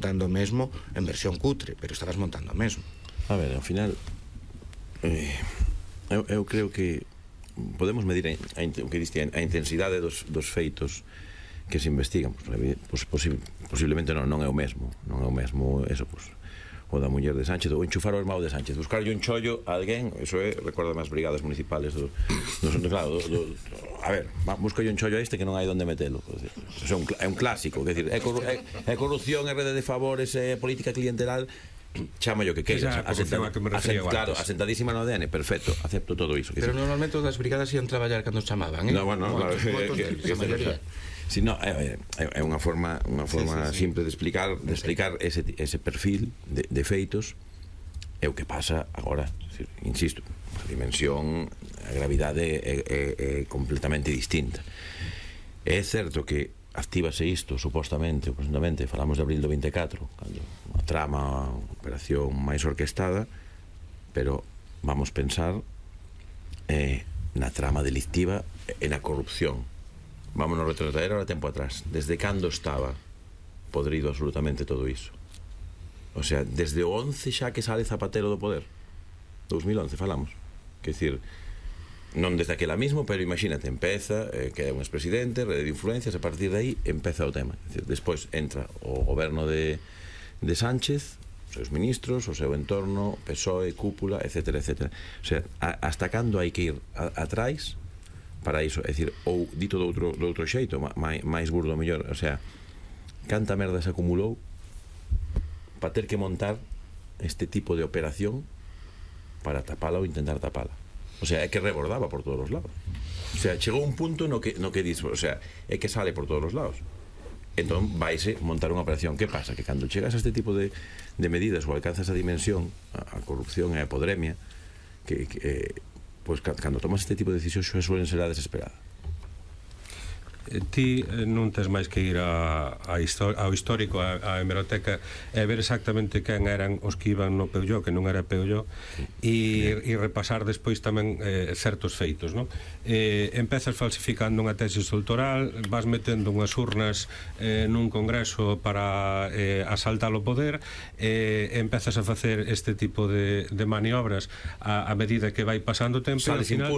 montando o mesmo en versión cutre, pero estabas montando o mesmo. A ver, ao final eu creo que podemos medir o que diste, a intensidade dos feitos que se investigan. Posiblemente non é o mesmo eso, o da muller de Sánchez, ou enchufar o irmão de Sánchez, buscarlle un chollo a alguén, eso é, recorda as brigadas municipales claro, a ver, buscarlle un chollo a este que non hai onde metelo. Eso é un clásico, é dicir, é corrupción, é rede de favores, é política clientelar, chama yo que queiras, claro, asentadísima no ADN, perfecto, acepto todo iso. Pero normalmente as brigadas ian traballar cando chamaban, No, bueno, claro, si no, é unha forma simple de explicar ese perfil de feitos. É o que pasa agora, insisto, a dimensión, a gravidade é completamente distinta. É certo que actívase isto, supostamente, ou presuntamente, falamos de abril do 24, cando a trama, a operación máis orquestada, pero vamos pensar na trama delictiva e na corrupción. Vámonos retrotraer ahora tempo atrás. Desde cando estaba podrido absolutamente todo iso? O sea, desde o 11 xa que sale Zapatero do poder, 2011 falamos, que decir, non desde aquela mismo, pero imagínate, empeza que é un expresidente, rede de influencias, a partir de aí empeza o tema. Despois entra o goberno de Sánchez, os seus ministros, o seu entorno, PSOE, cúpula, etcétera, etcétera. O sea, hasta cando hai que ir atrás para iso? É dicir, ou dito do outro xeito, máis burdo mellor, o sea, canta merda se acumulou para ter que montar este tipo de operación para tapala ou intentar tapala. O sea, é que rebordaba por todos os lados. O sea, chegou un punto no que dis, o sea, é que sale por todos os lados. Entón, vaise montar unha operación. Que pasa? Que cando chegas a este tipo de medidas ou alcanzas a dimensión, a corrupción e a podremia, pois cando tomas este tipo de decisións suelen ser a desesperada. Ti non tes máis que ir ao histórico, á hemeroteca, e ver exactamente quen eran os que iban no Peulló, que non era Peulló, e repasar despois tamén certos feitos, non? Empezas falsificando unha tese electoral, vas metendo unhas urnas nun congreso para asaltar o poder, empezas a facer este tipo de maniobras a medida que vai pasando o tempo, e ao final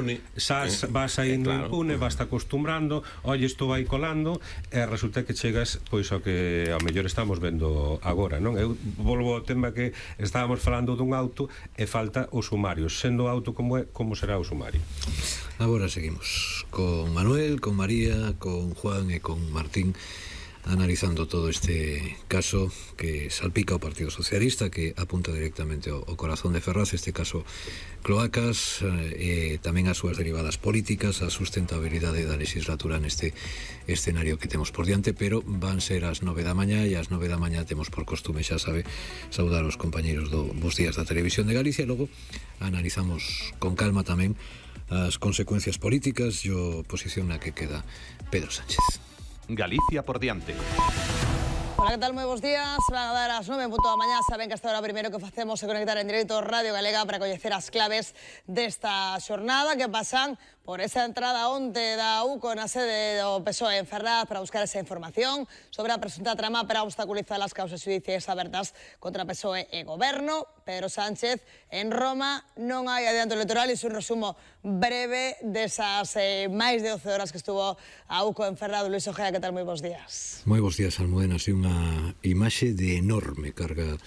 vas saindo impune, vas te acostumbrando, oye, isto vai colando, e resulta que chegas pois ao que ao mellor estamos vendo agora, non? Eu volvo ao tema que estábamos falando dun auto e falta o sumario. Sendo auto como é, como será o sumario? Agora seguimos con Manuel, con María, con Juan e con Martín, analizando todo este caso que salpica o Partido Socialista, que apunta directamente ao corazón de Ferraz, este caso cloacas, e tamén as súas derivadas políticas, a sustentabilidade da legislatura neste escenario que temos por diante. Pero van ser as 9 da mañá, e ás 9 da mañá temos por costume, xa sabe, saudar os compañeros do Bos Días da Televisión de Galicia, e logo analizamos con calma tamén as consecuencias políticas e a posición na que queda Pedro Sánchez. Galicia por diante. Hola, ¿qué tal? Moi bons días. Van a dar as 9 en punto da mañá. Saben que hasta ahora primeiro que facemos é conectar en directo Radio Galega para coñecer as claves desta xornada que pasan por esa entrada onte da UCO na sede do PSOE en Ferraz para buscar esa información sobre a presunta trama para obstaculizar as causas xudiciais abertas contra PSOE e Goberno. Pedro Sánchez en Roma, non hai adianto electoral, e un resumo breve desas máis de 12 horas que estuvo a UCO en Ferraz. Luis Ojea, que tal? Moi bons días. Moi bons días, Almudena. Así unha imaxe de enorme carga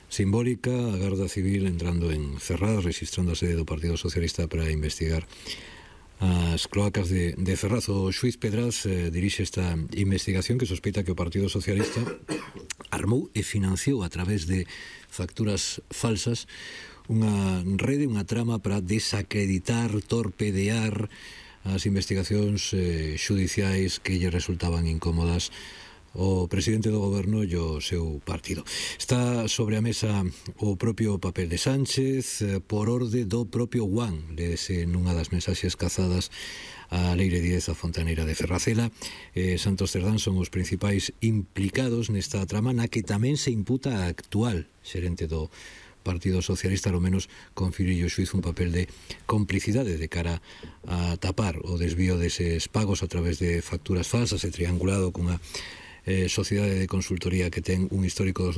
simbólica, a Garda Civil entrando en Ferraz, registrando a sede do Partido Socialista para investigar as cloacas de Ferraz. O xuiz Pedraz dirixe esta investigación que sospeita que o Partido Socialista armou e financiou a través de facturas falsas unha rede, unha trama para desacreditar, torpedear as investigacións xudiciais que lle resultaban incómodas o presidente do goberno e o seu partido. Está sobre a mesa o propio papel de Sánchez por orde do propio Juan, léese nunha das mensaxes cazadas a Leire Díez, a fontaneira de Ferrazela. Santos Cerdán son os principais implicados nesta trama, na que tamén se imputa a actual xerente do Partido Socialista, ao menos conferiu o xuiz un papel de complicidade de cara a tapar o desvío deses pagos a través de facturas falsas e triangulado cunha sociedade de consultoría que ten un histórico dos